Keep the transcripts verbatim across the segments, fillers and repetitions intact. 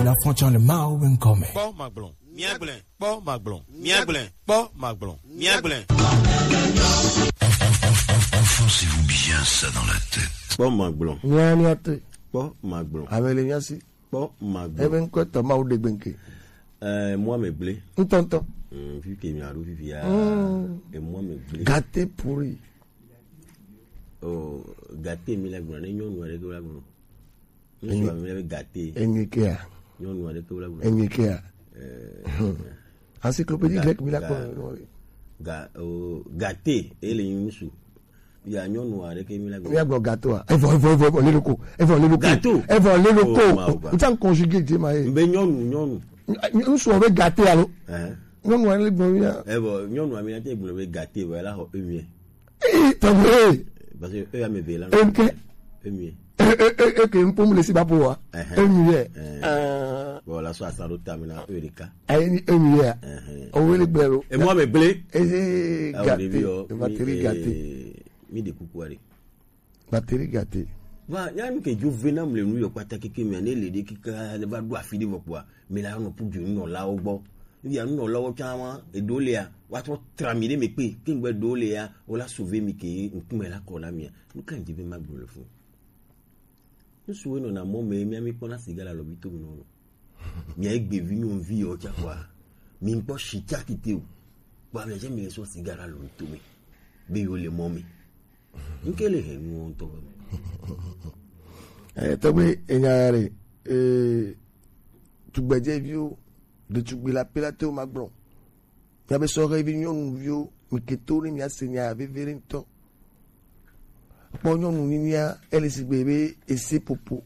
Afɔtsɔ le Mawu be ŋkɔ me. Kpɔ magblɔ, míagblẽ. Kpɔ magblɔ, míagblẽ. Kpɔ magblɔ, míagblẽ. Enfoncez-vous bien ça dans la tête. Kpɔ magblɔ. Mía, mía te. Kpɔ magblɔ. Ame le mía si. Kpɔ magblɔ. Ebe ŋkɔ tɔ Mawu ɖe gbe ŋke. Eh, mɔ ame gblẽ. Ŋutɔŋutɔ. Mm, fi ke mía ɖo fifi ya. Mm. Emɔ ame gblẽ. Gâté pourri. Oh, gâté mi la gblɔ, ne nyɔnu aɖe ke la gblɔ. Ŋutsu ame be gâté. Enyi kea. Nyɔnu aɖe ke wole gblɔ. Enyi kea. Eh, encyclopédie grecque mi la kpɔ. Ga, ga, oh, gâté, ele ŋutsu. Ya nyɔnu aɖe ke mi la gblɔ. Mi agblɔ gâteau a. Evɔ, evɔ, evɔ, evɔ, le loko. Evɔ, le loko. Gâteau. Evɔ, le loko. Oh, ma, ma. N tsa conjugué dze ma ye. Mbe nyɔnu, nyɔnu. Ŋutsu be gâté alo. Eh. Nyɔnu aɖe le gblɔ ya. Evɔ, nyɔnu ame ya te gblɔ be gâté, vɔ, ela xɔ emi. Ee, tɔgbe. Parce que eux, ame eve la. Eke. Emi. E, e, e, eke ŋkpɔm le si ba po wa. Ɛhɛn. Emi yɛ. Ɛhɛn. Ɛɛ. Bon, la so asa ɖo tame na eux ɖeka. Ayi ni emi yɛ. Ɛhɛn. Owe le gbe lo. Emo ame gblẽ. Eye. Awo gâté, ɖevi yɔ, batterie mi, gâté. Eh, mi ɖe kuku aɖe. Batterie gâté. Va, nya nu ke dzo ve nam le nu yɔ kpata keke mea, ne le ɖe keke ne va ɖo afi ɖe vɔ kpoa, mi la nɔ ƒu du nunɔlawo gbɔ. Via nunɔlawo tsã wa, eɖewo lia, woatrɔ tra mi ɖe me kpe, ke ŋgbe ɖewo lia, wola sauver mi ke ŋkume la kɔ na mia. Nu ka ŋdzi be magblɔ le funu? Ŋsuwo nɔna mɔ me, mia mi kpɔna siga le alɔvi to me nɔ nɔ. Mia egbe vi nyɔnuvi yɔ tsa kɔa, mi ŋkpɔ shi tsa kite o. Kpɔ amia tse mi le sɔ siga le alɔvi to me, be yo le mɔ me. Ŋke le he nuwo ŋutɔ be. Eh, tɔgbe, enya ya ɖe, eh, tugbedzeviwo, ɖetugbui la pe la te wo ma gblɔ. Míabe sɔhɛvi nyɔnuviwo, mi ke to ne míase nya ya veve ɖe ŋutɔ. Kpɔ nyɔnu nyinyia, ele sigbe be ese popo.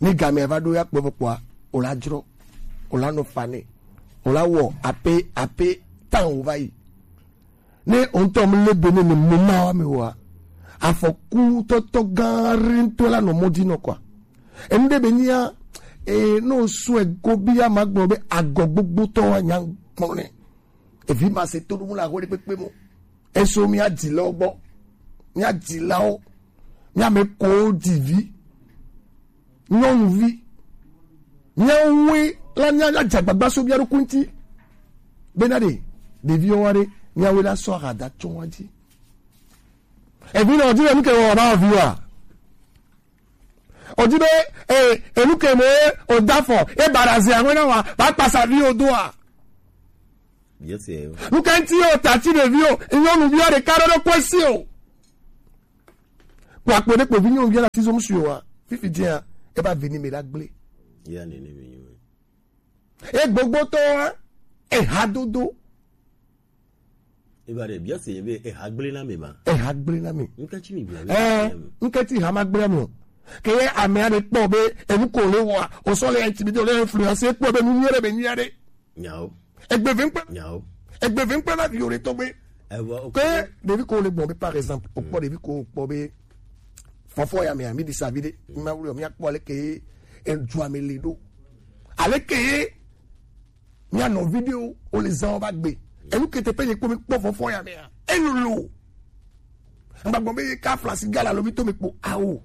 Ne gamea va ɖo ya kpɔ vɔ kpɔa, o la dzrɔ, o la nɔ fa nɛ, o la wɔ ape, ape tan o va yi. Ne o ŋutɔ mu le be ne ne mo ma wa me wa, afɔku tɔtɔ gã aɖe ŋutɔ la nɔ mɔ di nɔ kɔa. Enu ɖe be nyia, e, ne o sɔe go bi ya ma gblɔ be agɔ gbogbotɔ wa nya gblɔ nɛ. Evi ma se to ɖo mu la ho ɖe kpekpe mo. Eso mía dzilawo gbɔ. Mía dzilawo. Mía me ko dzivi. Nyɔnuvi. Míawoe la mía, mía dze agbagba so mía ɖokui ŋuti. Bena ɖe, ɖeviwo wa ɖe, míawoe la sɔ ahada tso wa dzi. Evi nɔ dzi le nu ke wɔ na viwa. O di be, e, enu ke me o da fɔ, e bara ze aŋwe na wa, ba kpasa vi o do a. Yes, eh. Nu ka ŋuti o ta ti ɖevi o, nyɔnuvi o ɖeka ɖe ɖo kɔe si o. Kpɔ akpɔ ɖe kpɔ vi nyɔnuvi la ti zɔm si o wa. Fifi dia, e ba vi ni me la gble. Ya ne ne me nyo. E gbogbotɔ wa, e ha dodo. Eba ɖe bia se be eha gblẽ na me ma. Eha gblẽ na me. Ŋke tsi mi bia. Eh, ŋke tsi ha ma gblẽ na me o. Ke ye ame aɖe kpɔ be enu ko le wa, o sɔ le intimidé, o le influencer kpɔ be nu nyuie ɖe be nyuie ɖe. Nyawo. Egbe ve ŋkpe. Nyawo. Egbe ve ŋkpe na vi o ɖe tɔgbe. Ewa, ok. Ke ɖevi ko le gbɔn be par exemple, o kpɔ ɖevi ko kpɔ be fɔfɔ ya me a mi di sa vi ɖe. Ma wuli o mi akpɔ le ke edu ame le ɖo. Ale ke Mía nɔvi ɖewo, wo le zã wo va gbe. Enu ke teƒe nye kpɔ mi kpɔ fɔfɔ ya mea. Elolo. Ŋgba gbɔ be ye ka flasi gala lo mi to mi kpɔ awo.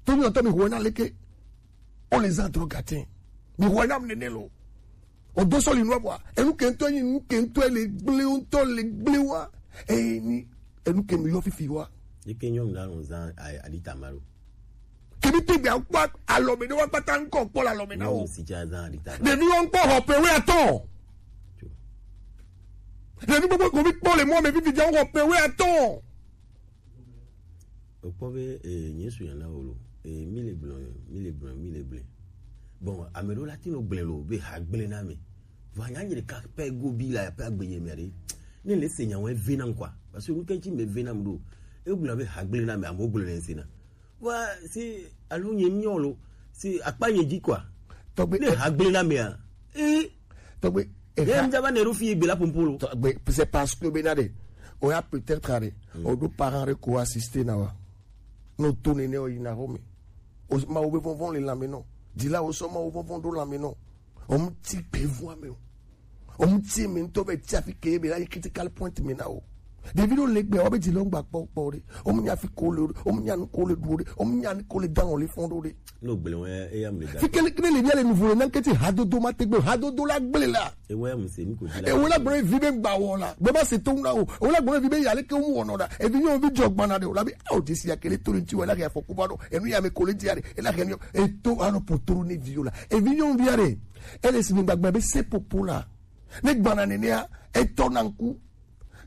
To mi ɔtɔ mi hɔ na leke. Wo le zã drogue atɛ. Mi hɔ na mi nene lo. O do sɔli nua bua. Enu ke ŋutɔ nyi, nu ke ŋutɔ le gble ŋutɔ le gble wa. Eye ni enu ke mi yɔ fifi wa. Yi ke nyɔnu la nɔ zã a-, aɖi tama lo. Kebi te gbea kpɔ alɔme ɖe wa kpata ŋkɔ kpɔ le alɔme na wo. Nyɔnu si dza zã aɖi tama. Ɖevi wo ŋkpɔ xɔ ƒe wuiatɔ̃. Ɖevi gbogbo ko mi kpɔ le mɔ me fifi dza xɔ ƒe wuiatɔ̃. Wokpɔ be, eh, nye su yana wo lo. Eh, mi le gblɔ, mi le gblɔ, mi le gblɔ. Bon, ame ɖewo la ti nɔ gblẽ lo be ha gblẽ na me. Vɔ anya nye ɖeka pɛ go bi la pe agbe nye mia ɖe. Ne le se nya wo eve na ŋkwa. Parce que nu ke ŋuti me eve na m ɖo. E gblɔ be ha gblẽ na me, amewo gblɔ le ŋse na. Wa si alo nye nyɔ lo. Si akpa nye dzi kwa. Tɔgbe ne ha gblẽ na mea. Eh. Tɔgbe. Ye eha- mdza va ne ɖo fi gbe la pompo lo. Tɔgbe, c'est parce que bena ɖe. O ya peut-être aɖe. Mm. O ɖo parent ɖe ko assister na wa. No to nene o yina xɔ me. O ma wo be vɔvɔn le lãme nɔ. Dila wo sɔ ma wo vɔvɔn ɖo lãme nɔ. O ŋuti gbe vɔa me o. O ŋuti me ŋutɔ be tsi afi ke be la yi critical point me na o. Ɖevi ɖewo le gbea, woabe dzi le wo ŋgba kpɔ kpɔ ɖe. Wo mu nya fi ko le ɖo, wo mu nya nu ko le ɖu ɖe, wo mu nya nu ko le da lɔ le fɔn ɖo ɖe. No gblẽ wɛ eya me da. Fi kele kele le bia le nuvo le na nketi hadodo ma tegbe, hadodo la gblẽ la. Ewe mu se mi ko di la. Ewe la gblẽ vi be gba wɔ la. Be ma se to na o. Ewe la gblẽ vi be ya le ke mu wɔ nɔ da. Evi nyɔ vi jɔ gbana de o la bi. Awo desi ya kele to le nti wɛ la ya fɔ kuba do. Enu ya me ko le dia de. E la ke nyɔ. E to ano potoro ne vi o la. Evi nyɔ vi ya de. Ele si mi gbagba be se popo la. Ne gbana nenea, etɔ na ŋku.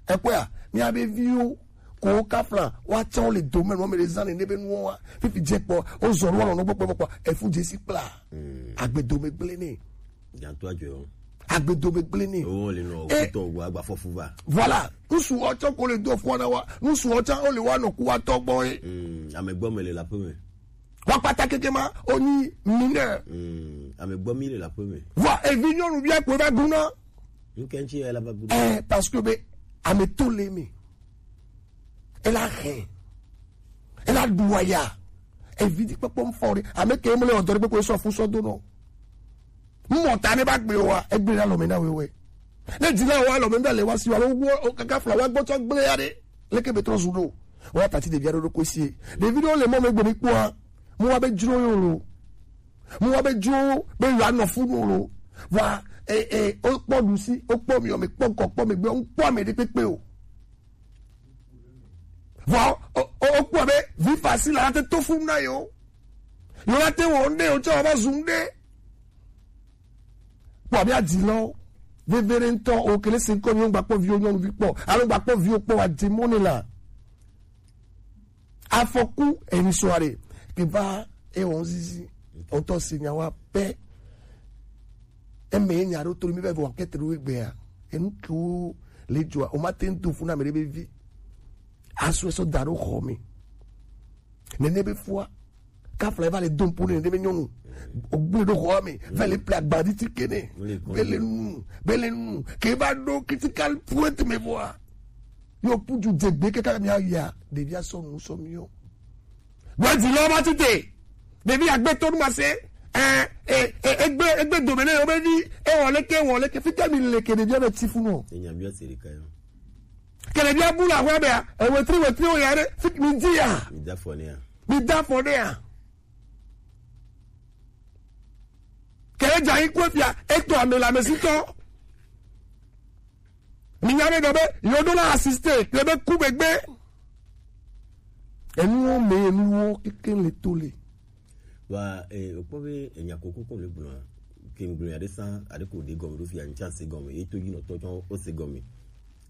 Ekpɔa, míabe viwo ko wo kafla, woatsɔ wo le dome nɔ me le zã nene be nuwo wa. Fifi dze kpɔ, wozɔ nu wɔnɔ nɔgbɔ kpɔ kpɔ, efu dze si kpla. Agbe dome gblẽ nɛ. Gãtɔ adzɔe o. Agbe dome gblẽ nɛ. Wo le nɔ Eh, kutɔ wo agba fɔfu va. Voilà. Nusu wo tsɔ ko le do fɔ na wa. Nusu wo tsɔ wo le wa nɔ ku wa tɔ gbɔ ye. Mm, ame gbɔ me le la pe me. Wa kpata keke ma, oni mineur. Mm, ame gbɔ mi le la pe me. Vɔ evi nyɔnu bia ko va guna. Ŋkɛntsi ya la va gudo. Eh, parce que be ame to le mi. Ela he. Ela duaya. Evi di kpekpe mfɔ ɖe. Ame ke mle odore kpekpe sɔ fu sɔ do no. Mɔ ta ne ba gbe wa, egbe la lɔ me na wewe. Ne di la wa lɔ me na le wa si wa lo wo o kaka fla wa gbɔtɔ gble ya ɖe. Leke be trɔ zu ɖo. Wa tati ɖevi aɖewo ɖo koe sie. Ɖevi ɖewo le mɔ me gbe mi kpɔa. Mo wa be dzro yo lo. Mo wa be dzro be yo anɔ fu no lo. Wa e e o kpɔ ɖusi, o kpɔ mi o me kpɔ ŋkɔ kpɔ me gbe o kpɔ ame ɖe kpekpe o. Vɔ o o o kpɔ be vi fasi la te to fun na yo. Yo la te wo nde o tsɔ va zu nde. Kpɔ be adzi lɔ. Vevere ŋutɔ o kele se ŋkɔ mi o gba kpɔ viwo nyɔnuvi kpɔ. Alo gba kpɔ viwo kpɔ wa dze mɔ ne la. Afɔku eni sɔ are. Ke va e wɔn zizi. O tɔ si nya wa pɛ. Eme nya ɖo to mi be vɔ kete ɖo egbea. Enu ke wo le dzɔa. O ma te ŋu to fun na me ɖe be vi. Asu esɔ da ɖo xɔ me. Nene be fua. Kafla va le dom po nene be nyɔnu. O gble ɖo xɔ me. Va le ple agbadi ti kene. Be le nu. Be le nu. Ke va ɖo critical point me vɔa. Yo puju dze gbe kaka mi aya. Ɖevi asɔ nu sɔ mi yo. Gbadzi lɔ ma tite. Ɖevi agbe to nu ma se. Eh, eh, eh, egbe, egbe dome ne yo be vi. E wɔ leke, wɔ leke. Fika mi leke ɖevi ame ti fu no. Enya bi o se ɖeka yo. Kele bia bu la hwe bea, e wetri wetri o ya ɖe, fik mi di ya. Mi da fɔ ne ya. Mi da fɔ ne ya. Kele dza yi kwe fia, eto ame la me si tɔ. Mi nya be dɔ be, yo do la assisté, kele be ku be gbe. Enuwo me, enuwo keke le to le. Wa e okpɔ be enya koko kɔ le gblɔa ke ŋgblɔ ya ɖe sã aɖe ko ɖe gɔme ɖo fia ŋtsa se gɔme ye to yi nɔtɔ tsɔ o se gɔme.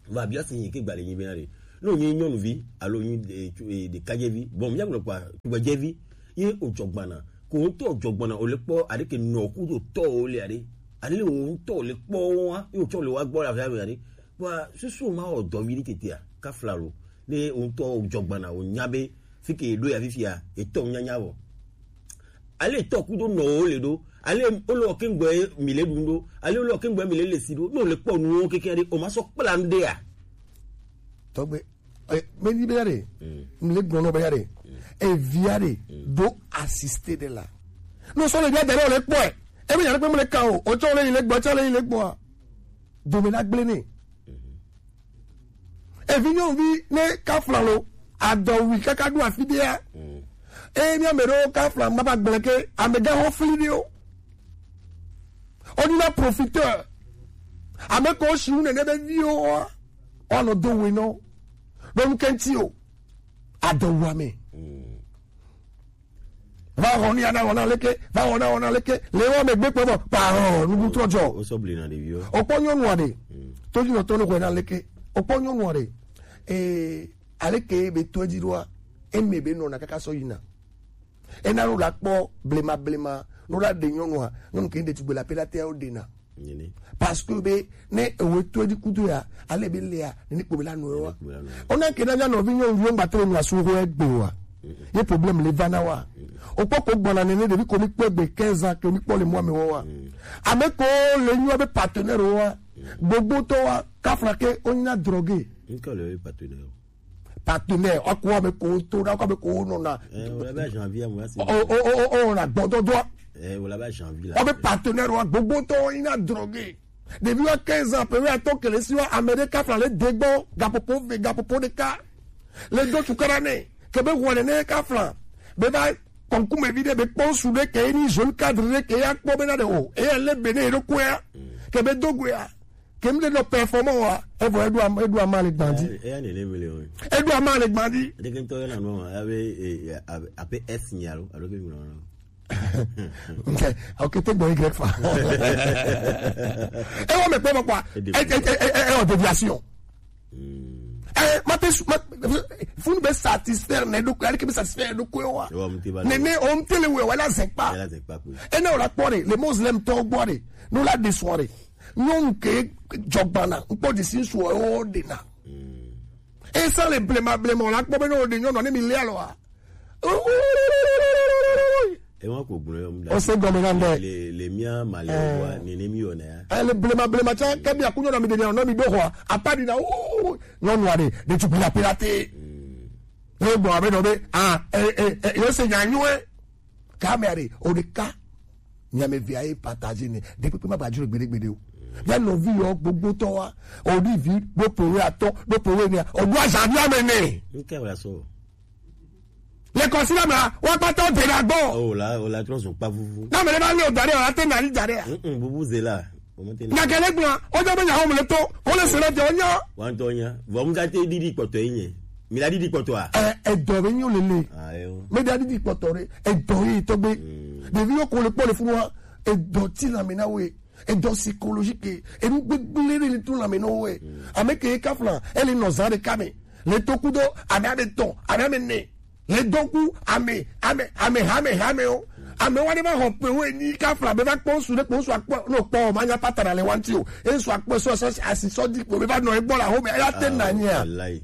Va bia si nyi ke gba le nyi be na ɖe. Ne wònye nyɔnuvi alo wònye e, tso- e, ɖekadzɛvi, bon, míagblɔ kpa tugbedzɛvi ye wòdzɔ gbana. Ko ŋutɔ wòdzɔ gbana, wòle kpɔ aɖe ke nɔ kudo tɔ wòle aɖe. Ale wò ŋutɔ wòle kpɔ wo wa, ye wòtsɔ le wa gbɔ le afi ame aɖe. Kpɔa susu ma wɔ dɔ vi ɖe tetea, kafla lo. Ne wò ŋutɔ wòdzɔ gbana, wònya be fi ke ɖo ya fifia, etɔ nyanya vɔ. Ale tɔ kudo nɔ wo le ɖo. Ale wole wɔ kengbe mi le ɖu ɖo. Ale wole wɔ kengbe mi le le si ɖo. Ne wòle kpɔ nuwo keke ɖe, o ma sɔ kpla nu ɖea. Tɔgbe, eh, me ni be ya ɖe, mi le gblɔ nɔ be ya ɖe, evia ɖe, do assisté ɖe la. No sɔ le bia da ɖe wòle kpɔe. Ebe ya ɖe kpe mele ka o, o tsɔ le yi le gbɔ, tsɔ le yi le gbɔa. Dome na gblẽ nɛ. Evi nyɔnuvi ne kafla lo, adɔwui kaka ɖo afi ɖea. Eye mi ame ɖewo kafla ma ba gblẽ ke, amegãxo fli ɖewo. Wodina profiteur. Ame ke wosi ŋu nene be viwo wa, woanɔ do we nɔ. Ɖo nu ke ŋuti o. Adɔwuame. Va xɔ nu ya na wɔna leke, va wɔna wɔna leke, le wɔ me gbe kpɔ bɔ, pa hɔ, nubu trɔ jɔ. Wosɔ bli na ɖeviwo. Okpɔ nyɔnu aɖe, to dzi nɔtɔ ne xɔe na leke, okpɔ nyɔnu aɖe, ee, aleke be to edzi ɖoa, eme be nɔna kaka sɔ yina. Ena ɖo la kpɔ blema blema, no la ɖe nyɔnua, nyɔnu ke ɖe tugbe la pe la te wo ɖena. Nyene. Parce que be ne ewe to di kudo ya, ale be lea, ne ni kpo be la no wa. Ona ke na nya no vi nyo nyo ngba tre no asu ho egbe wa. Ye problème le va na wa. O kpɔ ko gbɔna ne ne ɖevi ko mi kpɔ egbe quinze ans ke mi kpɔ le mɔ me wa. Ame ko le nyo be partenaire wa. Gbogbo to wa, kafla ke o nya drogue. Nka le partenaire. Partenaire, ɔkò ame ko to na, ɔkò ame ko nɔna. Eh, wòle be janvier mo asi. O o o o o na gbɔdɔdɔ. Eh, wòle be janvier la. Ɔbe partenaire wa gbogbo tɔ ina drogue. Ɖevi wa quinze ans, pe wa to kele si wa ame ɖe kafla le degbɔ, gapopo ve, gapopo ɖeka. Le do tukara nɛ, ke be wɔne ne kafla. Be va kɔnkume vi ɖe be kpɔ su ɖe ke ni jeune cadre ɖe ke ya kpɔ be na ɖe o. E ya le be ne ɖo koya. Ke be do goya. Ke mi ɖe nɔ performant wa, e vɔ eɖo am-, eɖo ama le gbandi. Eya ne ne mele o. Eɖo ama le gbandi. Ɖeke ŋutɔ yɔna nɔ, abe, e, e, abe, abe S nya lo, alo ke mi nɔ. Ok, ok, te gbɔ Y fa. E wɔ me kpɔ mɔ kpɔ. E, e, e, e, e, e, o déviation. Eh, ma te su-, ma, funu be satisfaire ne ɖokui, ale ke be satisfaire ɖokui wa. Ewa, mu te ba le. Ne, ne, o mu te le we, wala zɛkpa. Wala zɛkpa ko. E ne o la kpɔ ɖe, le Muslim tɔ gbɔ ɖe, no la de sɔ ɖe. Nyɔnu ke jɔgbana, ŋkpɔ de si ŋsu o de na. E sa le blema, blema, o la kpɔ be no de nyɔnu ne mi le alɔ a. Ewa ko gblɔ yɔ mu da. O se gɔme na ndɛ. Le, le mia ma le wa, ne, ne mi yɔ na ya. Eh, le blema, blema tsa, ke mi akunyo na mi de na, na mi do hɔ. Apa di na, o, nyɔnu a de, de tukula pelate. Ne gbɔ abe nɔ be, ah, eh, eh, eh, yo se nya nyuɛ. Ka me are, o de ka. Nya me via e partager ne. De pepe ma ba juro gbede gbede o. Ya nɔvi yɔ gbogbo tɔ wa. O di vi, do pe we atɔ, do pe we ne. O do aza bi ame ne. Nke wala so. Le kɔsi la mla, wa kpata o de na gbɔ. O la, o la trɔ zun kpa vuvu. Na me le ba le o dare, o la te na ni dare. Mm, mm, vuvu ze la. O mo te na. Na kele gbla, o jɔ be nya ho mo le to, ko le se le jɔ nya. Wa n tɔ nya. Vɔ mu ka te didi kpɔtɔ yi nye. Mi la didi kpɔtɔ a? Eh, edɔ be nyo lele. Ah, yo. Me da didi kpɔtɔ re. Edɔ yi tɔ gbe. Mm. Ɖevi yo ko le kpɔ le funu wa. Edɔ ti la me na we. Edɔ psychologique, enu gbegble ɖe li to lãme nɔ wɛ. Ame ke kafla, ele nɔ zã ɖeka me. Le to kudo, ame ame tɔn, ame ame ne. Le dɔku, ame, ame, ame hame hame o. Ame wa ɖe va xɔ pe wo enyi kafla be va kpɔ ŋsu ɖe kpɔ ŋsu akpɔ, no kpɔ o, ma nya patara le wanti o. E ŋsu akpɔ sɔ, sɔ, asi sɔ di kpo be va nɔ egbɔ la xɔ me, eya te na nyia. Wallahi.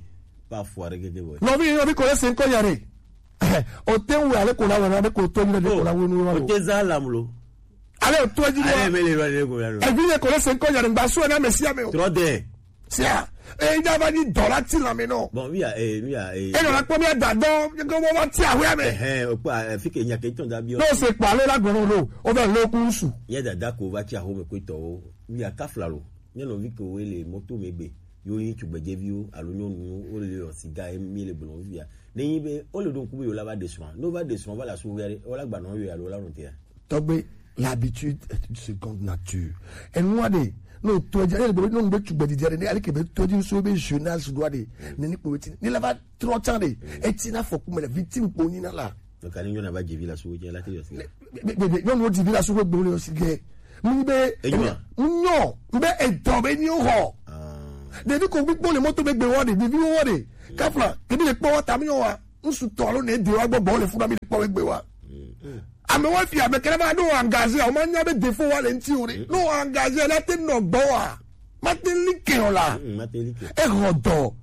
Pas fort, regardez, ouais. Nɔvi, nɔvi ko le se ŋkɔ nya ɖe. O te ŋu ale ko la wɛ na ɖe ko to nyi ɖe ko la wɛ nu wa. O te za lam lo. Ale o to dzi. Ale mele va ɖe ko la lo. Evi ne ko le se ŋkɔ nya ɖe ŋgba su na Mesia me o. Trop de. Sia. E da va ni dɔ la ti la me no. Bon, oui, eh, oui, eh. E nɔ la kpɔ mi da dɔ, ko mo va ti awe me. Eh, eh, o kpa, eh, fi ke nya ke tɔn da bi o. No se kpa le la gbɔnɔ lo. O va lo ku su. Ye dada ko va ti aho me ko tɔ o. Oui, a kafla lo. Nye nɔvi ke wo le moto me gbe. Yo yi tugbedzeviwo alo nyɔnuwo wo le yɔ siga ye mi le gblɔ fia. Ne nyi be wo le ɖo ŋku be yo la va ɖe srɔ̃a. Ne wo va ɖe srɔ̃a va le asu ge ɖe, wo la gba nɔ yo alo la nɔ tea. Tɔgbe, l'habitude est une seconde nature. Enua ɖe, no to dzi, ele be no be tugbedzedze ɖe, ne ale ke be to dzi so be jeunesse doit ɖe, ne ni kpo ti, ne la va trɔ tsan ɖe, eti na fɔku me le victime kpo ni na la. Donc ani nyɔna va dzi vi la su dze la te yɔ si. Be, be, be, nyɔnu dzi vi la su gbe le yɔ si ge. Mu be, enyo. Mu nyɔ, be edɔ be nyi ho. Ɖevi ko gbikpɔ le moto be gbe wa ɖe, ɖevi wo wa ɖe. Kafla, ke bi le kpɔ wa ta mi nyɔ wa. Ŋsu tɔ alo ne de wa gbɔ gbɔ le funa mi le kpɔ be gbe wa. Ame wa fi ame kele ma no engagé, o ma nya be défaut wa le ŋti o ɖe. No engagé la te nɔ gbɔ wa. Ma te like o la. Mm, ma te like. E ho dɔ.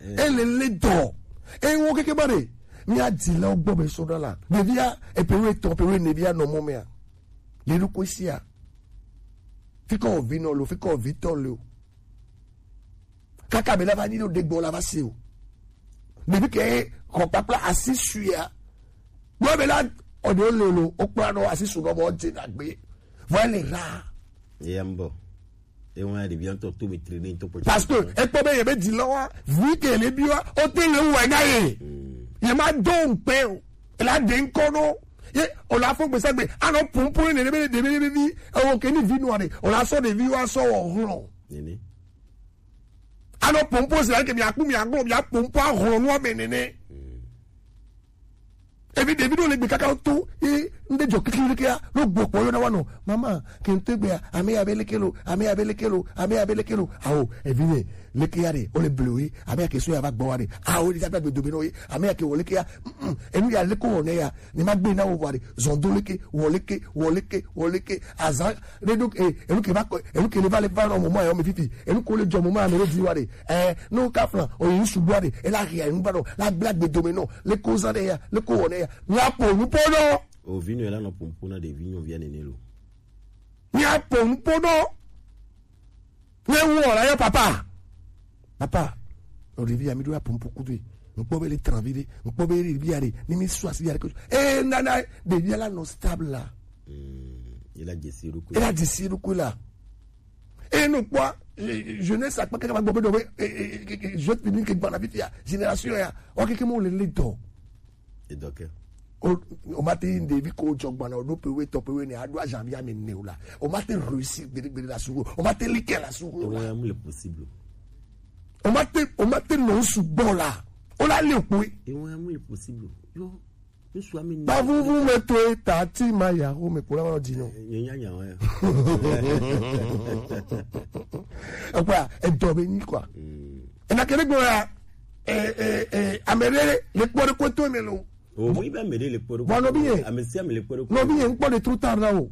E le le dɔ. E wo keke ba ɖe. Mi a di la o gbɔ be so da la. Ɖevia, e pe we tɔ, pe we ne via nɔ mɔ mea. Le ɖo ko sia. Fi ko vi nɔ lo, fi ko vi tɔ lo. Kaka be la va nyi ɖo ɖe gbɔ la va se o. Ɖevi ke xɔ kpakpla asi suia. Gbɔ be la ɔde o lolo, o kpla nɔ asi su nɔ bɔ dze na gbe. Vɔ ele ra. Eya mbɔ. Ewa ɖevi ŋutɔ to me tri ne ŋutɔ kpɔ. Parce que ekpɔ be yebe di lɔ wa, vi ke le bi wa, o te le wɛ na ye. Ye ma do ŋkpe o. Ela de ŋkɔ no. Ye o la fo gbesa gbe, anɔ pumpu ne ɖe be ɖe be vi, ewo ke ni vi nua ɖe. O la sɔ ɖevi wa sɔ wɔ hlɔ. Nene. Anɔ pompo se ke mi akpu mi aglo mi apompo ahlo nu ame nene. Evi ɖevi ɖewo le gbe kaka to, e, ŋɖe dzɔ kikli ɖekea, ɖo gbɔ kpɔ yɔ na wa nɔ. Mama, ke ŋtɔ gbea, ame ya be leke lo, ame ya be leke lo, ame ya be leke lo. Awo, evi nye, leke ya ɖe, o le blewe, ame ya ke so ya va gbɔ wa ɖe. Awo, ɖe ya be agbe do be nɔ ye, ame ya ke wɔ leke ya, mm, mm, enu ya leke wɔ ne ya, ne ma gbe na wo wa ɖe, zɔn do leke, wɔ leke, wɔ leke, wɔ leke, azan, ɖe ɖo, e, enu ke va kɔ, enu ke le va le va nɔ mɔmɔ ya, o me fifi, enu ko le dzɔ mɔmɔ ya me ɖe di wa ɖe. Eh, no ka flan, o yi sugbɔ ɖe, e la hia nu ba nɔ, la bla gbe do me nɔ, le ko zan ɖe ya, le ko wɔ ne ya. Mi a po nu po nɔ. O vi nɔ la nɔ pompo na ɖevi nyɔvia nene lo. Mi a po nu po nɔ. Ne wo la yo papa. Papa. O ɖevi ya mi ɖo ya pompo kudo. Ŋkpɔ be le tranvi ɖe, ŋkpɔ be ɖevi ya ɖe, ni mi su asi ya ɖe ko. Eh, nana, ɖevi ya la nɔ stable la. Mm, il a décidé de quoi? Il a décidé de quoi là? Et non quoi, jeunesse akpa kaka ba gbɔ be dɔ be, jeune public ke gbana fifia, génération ya, o keke mo le le dɔ. Edɔke. O o ma te yi ɖevi ko jɔ gbana o ɖo pewe tɔ pewe ne a ɖo azanvi ame ne o la. O ma te réussir gbeɖe gbeɖe la su o. O ma te like la su o Ewa la. Ya mu le possible. O ma te o ma te nɔ su gbɔ la. O la le o kpoe. Ewa ya mu le possible. Yo. Ŋsu ame ne. Bavuvu me to eta ti ma ya ho me kura wa di no. Nye nya nya wa. Ekwa edɔ be nyi kwa. Ena kele gbɔ ya. Eh eh eh amere le kpɔ de ko to me lo. O mu ibe ame ɖe le kpɔ ɖo. Bua nɔvi ye. Ame sia ame le kpɔ ɖo. Nɔvi ye ŋkpɔ de trop tard la o.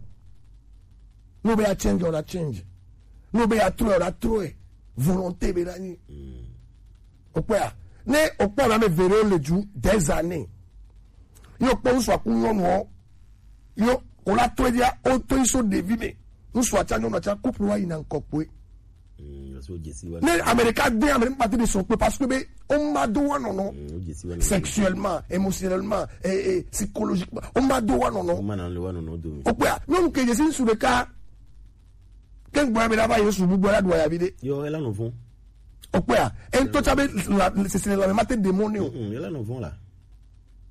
No be ya change o la change. No be ya trɔ o la trɔ. Volonté be la nyi. O kpɔa, ne o kpɔ na me vere le ju des années. Yo kpɔ ŋsu aku nyɔnu o. Yo o la to dia o to iso ɖevi me. Ŋsu atsa nyɔnu atsa couple wa yina ŋkɔ kpoe. Mm, so jesi wa. Ne Amerika de Amerika parti de son kpoe parce que be o ma do wa nɔnɔ. Mm, jesi wa. Sexuellement, émotionnellement, et, et psychologiquement, o ma do wa O nɔnɔ. ma na le wa nɔnɔ do mi. O kpɔa, nyɔnu ke jesi ŋsu ɖeka. Ke ŋgbɔ ya be la va yesu bu gbɔ la ɖu ya vi de. Yo ela nɔ vɔn. O kpɔa, e ŋutɔ tsa be la sesele la me ma te demon ne o. Mm, ela nɔ vɔn la.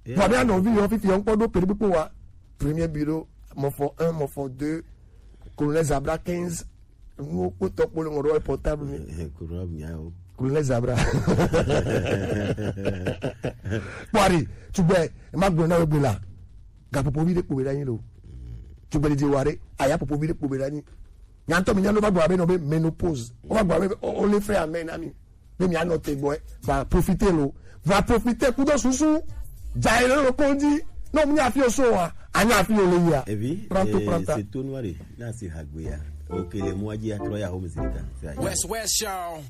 Vɔ be anɔvi yɔ fifi yɔ ŋkpɔ ɖo pere kpekpe wa. Premier bureau, mɔfɔ un, mɔfɔ deux, colonel Zabra quinze, nuwo kpotɔ kpo le ŋɔ ɖo portable mi. Corona nya o. Colonel Zabra. Kpɔari, tugbɛ, ma gblɔ na wo gbe la. Gapopo vi de kpo be ɖe anyi lo. Tugbɛ didi wa ɖe, aya popo vi de kpo be ɖe anyi. Nyantɔ mi nya lo va gblɔ abe nɔ be menopause. O va gblɔ abe o le fɛ amɛ na mi. Be mi anɔ te gbɔ. Va profiter lo. Va profiter kudo susu. Dza yi lo konji. No mi nya fi o so wa. Anya fi o le ya. Evi, Pranto pranta. Se to nua de. Na si hagbe ya. O ke le mu adzi atrɔ ya home zika. West West Show.